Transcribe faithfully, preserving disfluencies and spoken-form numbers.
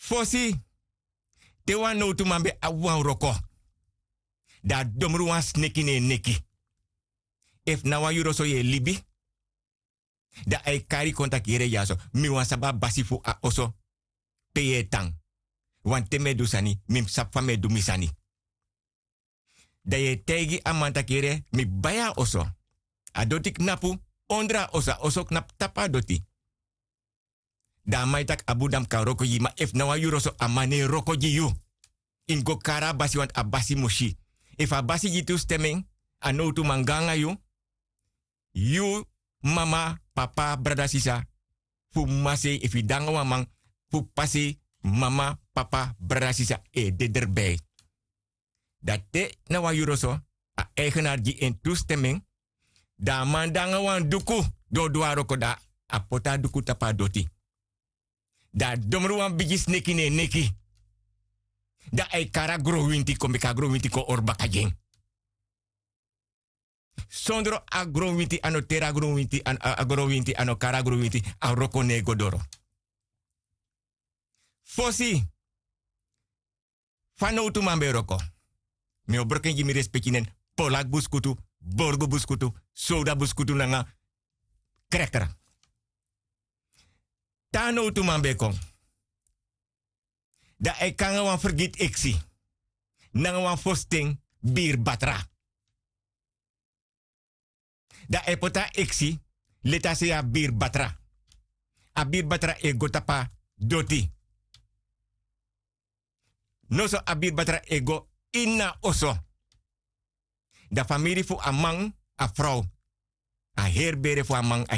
Fosi, te wan nowtuman ben abi wan wroko, dan a domru wan sneki na en neki. Efu na wan yuru oso yu e libi, dan a e kari kon taki: yere dyaso, mi wani sabi a basi fu a oso pe yu e tan. Wanten mi e du sani, mi mus sabi fa mi e du mi sani. Dan yu e taigi a man taki: yere, mi bai a oso. A doti knapu ondro a oso, a oso knapu tapu a doti. Dan a man e taki: a bun, dan mi kan wroko gi yu. Ma efu na wan yuru oso, a man no e wroko gi yu. Yu mus go kari a basi, want a basi mus si. Efu a basi gi yu tu stemmen, a nowtuman go nanga yu. Yu mama, papa, brada, sisa, fu masei, efu yu de nanga wan man fu pasei, mama, papa, brada, sisa e de drebei. Dan te na wan yuru oso, a eigenaar gi en tu stemmen, dan a man de nanga wan duku, di o du a wroko, dan a poti a duku tapu a doti. Dan a domru wan bigi sneki na en neki. Dan a e kari a gronwinti kon, meki a gronwinti kon hori baka gi en. Sondro a gronwinti, a no teri a gronwinti, a, a, a gronwinti, a no kari a gronwinti, a wroko no e go doro. Fosi, fa nowtuman ben e wroko? Mi o broko en gi mi respeki nen: Polak Buskutu, Borgu Buskutu, Sowda Buskutu nanga Krekra. Te a nowtuman ben e kon, dan a e kon nanga wan fergiti eksi, nanga wan fositen biri batra. Dan a e poti a eksi leti a sei a biri batra. A biri batra e go tapu a doti. Noso a biri batra e go ini a oso. Dan famiri fu a man, a frow, a heri bere fu a man, a